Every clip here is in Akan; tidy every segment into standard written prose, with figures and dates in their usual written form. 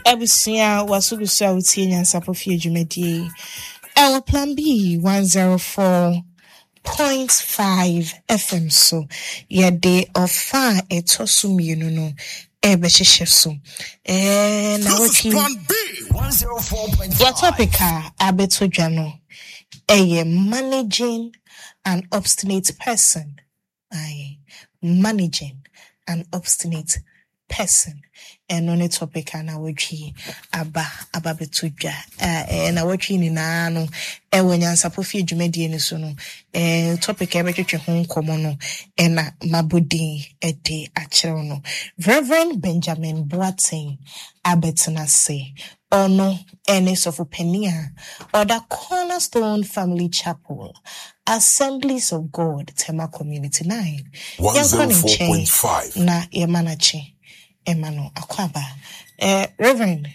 Abusua waso gu so a wotie Nyansapɔ Fie dwumadie yi ɛwɔ Plan B 104.5 FM so. Yɛde ɔfa a ɛtɔ so mmienu no ɛrebɛhyehyɛ so. Ɛɛ na wɔtwe yɛ topic a abɛto dwa no ɛyɛ managing an obstinate person. Aye, managing an obstinate person. Ɛno ne topic a nawɔtwe aba aba bɛto dwa. Ɛɛ nawɔtwe nyinaa no ɛwɔ Nyansapɔ Fie dwumadie no so no, ɛɛ topic a ɛbɛtwetwe ho nkɔmmɔ no ɛna mabɔ din ɛde akyerɛw no. Reverend Benjamin Boateng abɛtena ase. Ɔno ne sɔfo panin a ɔda Cornerstone Family Chapel, Assemblies of God, Tema Community 9. Yɛnkɔ ne nkyɛn 104.5. na yɛma no akye, ɛma no akwaaba. Eh, Reverend,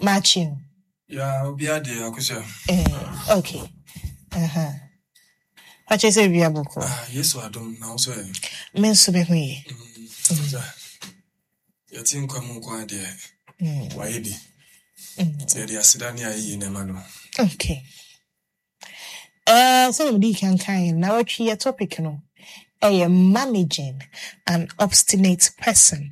makye o. Ya obiara deɛ Akosua. Eh, okay. Uh-huh. Pakyɛ sɛ wia bɔkɔ. Ah, Yesu adom na wo nso ɛ. Me nso me ho ye. Akosua, yɛte nkwa mu nko ara deɛ, wayɛ bi. Nti yɛde aseda ne ayɛyie na ɛma no. Okay. Eh, sɛdeɛ mede kan kan na wɔtwe yɛ topic no ɛyɛ managing an obstinate person.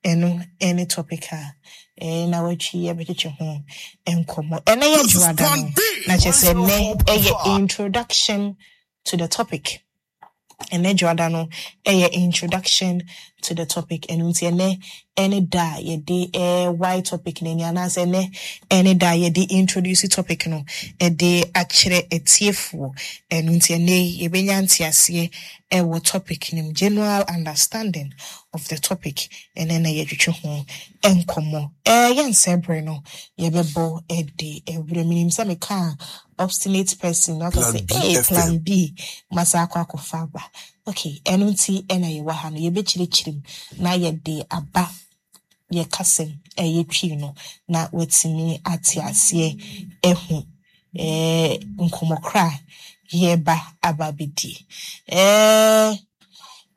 Ɛno ɛne topic a ɛɛ na wɔatwi yɛbɛtwetwe ho nkɔmmɔ. Ɛnɛ yɛ dwoada no na kyerɛ sɛ ɛnɛ ɛyɛ introduction to the topic. Ɛnɛ dwoada no ɛyɛ introduction to the topic. Ɛno nti ɛnɛ ɛne da a yɛde ɛɛ topic no ani anaasɛ ɛnɛ ɛne da a yɛde introduce topic no ɛde akyerɛ atiefoɔ. Ɛno nti ɛnɛ yɛbɛnya nteaseɛ ɛwɔ topic no mu, general understanding of the topic ɛnɛ na yɛtwetwe ho nkɔmmɔ. Yɛnsɛ bere no yɛbɛbɔ ɛde ɛwerɛ menim sɛ meka obstinate person na ɔka Plan sɛ B hey, FM. Plan B masa akɔ akɔfa aba. Okay, ɛno nti ɛna yɛwɔ ha no yɛbɛkyerɛkyerɛ mu na yɛde aba yɛ kasɛm ɛyɛ Twi no na watumi ate aseɛ ɛho nkɔmmɔ kora a yɛreba aba abɛdi.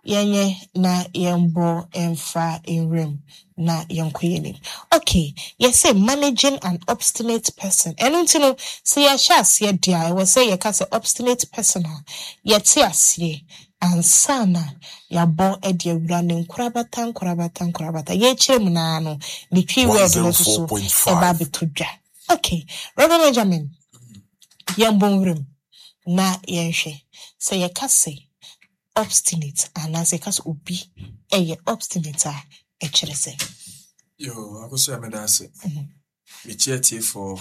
Yɛnyɛ na yɛmbɔ mfa nwuram na yɛnkɔ yɛn anim. Okay, yɛsɛ managing an obstinate person. Ɛno nti no, sɛ yɛhyɛ aseɛ deɛ a, ɛwɔ sɛ yɛka sɛ obstinate person a, yɛte aseɛ ansa na yɛabɔ de awura ne nkorabata nkorabata nkorabata. Yɛkyerɛ mu naa no, ne Twi word no nso so ɛba 104.5. abɛtɔ dwa. Okay, Reverend Benjamin, yɛmbɔ nwuram na yɛnhwɛ. Sɛ yɛka sɛ obstinate anaasɛ yɛka sɛ obi ɛyɛ obstinate a, ɛkyerɛ sɛ? Yo, Akosua meda ase. Mekyia tiefoɔ,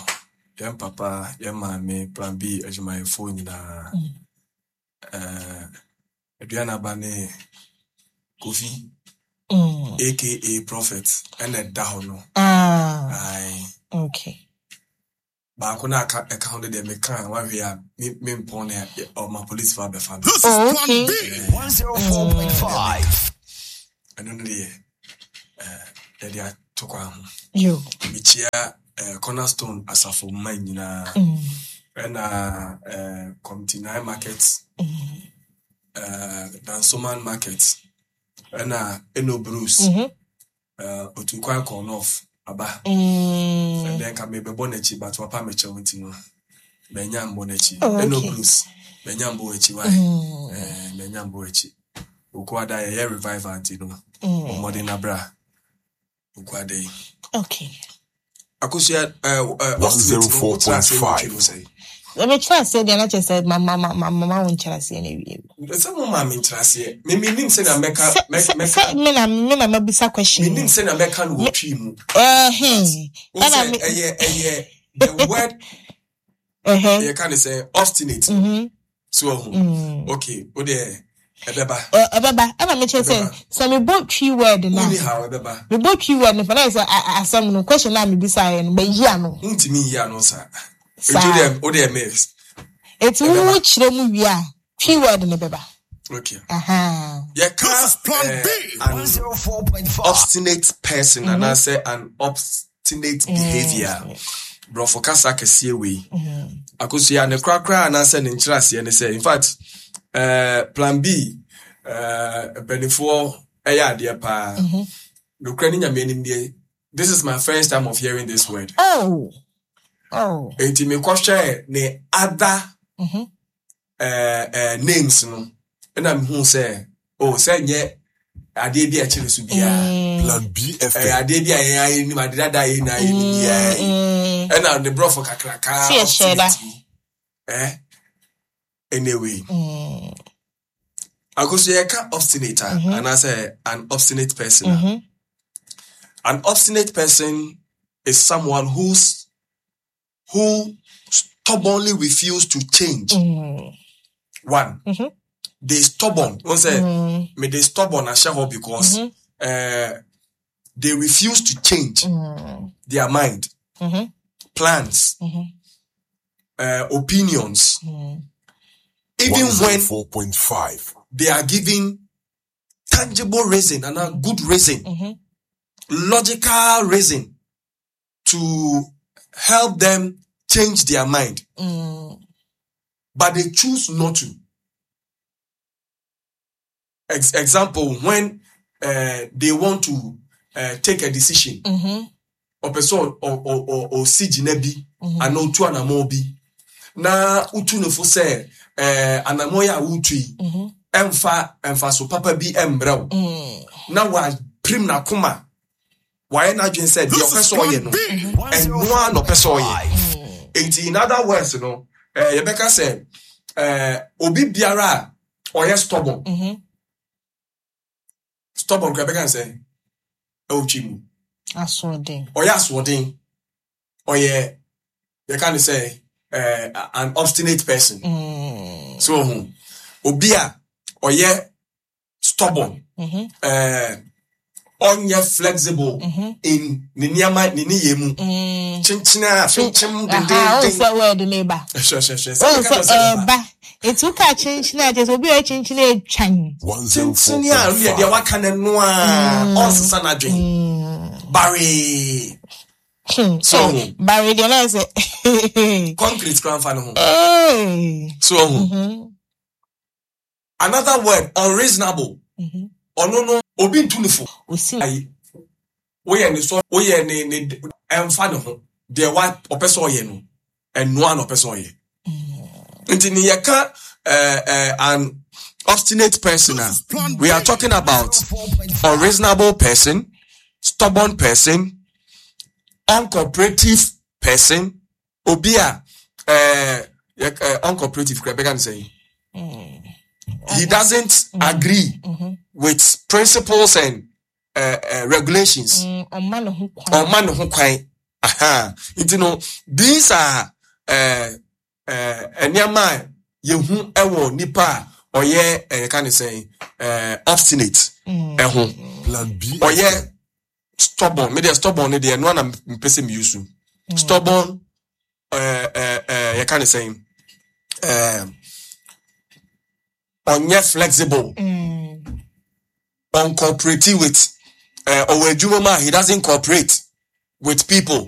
yɛn papa, yɛn maame, Plan B adwumayɛfoɔ nyinaa. Aduanaba ne Kofi, aka Prophet, ɛna ɛda hɔ no. Ah, Aye. okay. Baako na aka ɛka ho no deɛ meka a wahwɛ a me mempɔn ne ɔma police fa abɛfa me. This is Oh, Plan okay. B. 104.5. Ɛno no deɛ yɛde ato kwan ho. Yo. Mekyia Cornerstone asafo mma nyinaa. Ɛna Committee 9 Market, Dansoman Market, ɛna Eno Bruce, Otukwan kɔ North aba. Ɛdɛn nka mebɛbɔ n'akyi but wapa me kyɛw nti no manya mbɔ n'akyi. Oh, Eno okay. Bruce, manya mbɔ akyi wae. Manya mbɔ akyi. Okuada yɛyɛ revival nti no, bɔ mmɔden na bra Okuada yi. Okay. Akosua obstinate no wotra ase wɔ Twi mu sɛn? Mekyerɛ aseɛ deɛ na kyerɛ sɛ ma wo nkyerɛ aseɛ no awie. Sɛ mo maa me nkyerɛ aseɛ, me menim sɛnea mɛka Sɛ sɛ mɛka sɛ me na mabisa question menim no. sɛnea mɛka no wɔ Twi mu. Ɛhɛn. Wo Ɛna sɛ me ɛyɛ the word yɛka ne sɛ obstinate no. So ɔho. Okay, wo deɛ ɛbɛba. Ɛbɛba. Ɛna mekyerɛ sɛ Ɛbɛba. sɛ mebɔ Twi word no a, Wonni haw ɛbɛba. mebɔ Twi word no fa na yɛ sɛ asɛm no question a mebisaeɛ no mayi ano. Wontumi nyi ano saa. Nti Saa. wo deɛ me Eti ɛbɛba. wo kyerɛ mu wie a Twi word no bɛba. Okay. Aha. Yɛka This is Plan B. an 104.5. obstinate person anaasɛ an obstinate behavior. Borɔfo kasa kɛseɛ wei. Akosua ne korakora anaasɛ ne nkyerɛaseɛ ne sɛ in fact Plan B mpanimfoɔ ɛyɛ adeɛ paa. Nokorɛ ne Nyame anim deɛ This is my first time of hearing this word. Oh. Oh. Enti mekɔhwɛɛ ne other names no, ɛna mehu sɛ, oh, sɛ nyɛ adeɛ bi a ɛkyerɛ so biara. Plan B Ɛyɛ FM. adeɛ bi a yɛn ayɛ nim, ade dada a yɛn nyinaa yɛ nim biara yi. Ɛna ne borɔfo kakraka Sɛ yɛhyɛ da. obstinate yi. Eh? Anyway. Akoso yɛka obstinate a, anaasɛ an obstinate person a. An obstinate person is someone who stubbornly refuse to change. One, they stubborn. One say, me they stubborn ahyɛ hɔ because they refuse to change their mind, plans, opinions, even when 104.5. they are given tangible reason and a good reason, logical reason to help them change their mind. But they choose not to. Example, when they want to take a decision, ɔpɛ sɛ ɔsi gyina bi anaa otu anammɔn bi na wotu no fo sɛ anammɔn yi a wotu yi ɛmfa mfaso papa bi ɛmbrɛ wo, na wapirim n'akoma, wayɛ n'adwene sɛ deɛ ɔpɛ sɛ ɔyɛ no, ɛno ara na ɔpɛ sɛ ɔyɛ. Nti in other words no, yɛbɛka sɛ obi biara a ɔyɛ stubborn, stubborn kora yɛbɛka sɛ ɛwɔ Twi mu Asoɔden. Ɔyɛ asoɔden, ɔyɛ, yɛka ne sɛ an obstinate person. So ohun obi a ɔyɛ stubborn, ɔnyɛ flexible in ne nneɛma ne nneyɛɛ mu, kyenkyene a kyenkyem Aha, wo dendenden. sɛ word ne ba. Hwɛ, hwɛ, hwɛ. Wo Sɛ meka sɛ kyerɛ sɛ ɛba. ɛba. Eti woka kyenkyene a, kyerɛ sɛ obi a ɔyɛ kyenkyene atwan. Kyenkyene a ɔno deɛ waka no no a ɔnsesa n'adwene baree. So ohun Bare deɛ na sɛ. Concrete kora nfa ne ho. Hey. So ohun another word, unreasonable. Ɔno no obi ntu ne fo. Osi. Ayi woyɛ ne so, woyɛ ne ɛnfa ne ho, deɛ wa ɔpɛ sɛ ɔyɛ no, ɛnoa na ɔpɛ sɛ ɔyɛ. Nti ne yɛka an obstinate person a, we are talking about unreasonable person, stubborn person, uncooperative person, obi a uncooperative kura bɛka ne sɛ he doesn't agree with principles and regulations. Ɔma ne ho kwan. Ɔma ne ho kwan. Aha, nti no these are nneɛma a yɛhu ɛwɔ nipa a ɔyɛ yɛka ne sɛn, obstinate ɛho. Plan B. Ɔyɛ stubborn. Me deɛ, stubborn ne deɛ ɛno ana mpɛ sɛ mi use stubborn. Yɛka ne sɛn, ɔnyɛ flexible, uncooperate with, ɔwɔ adwuma mu a, he doesn't cooperate with people.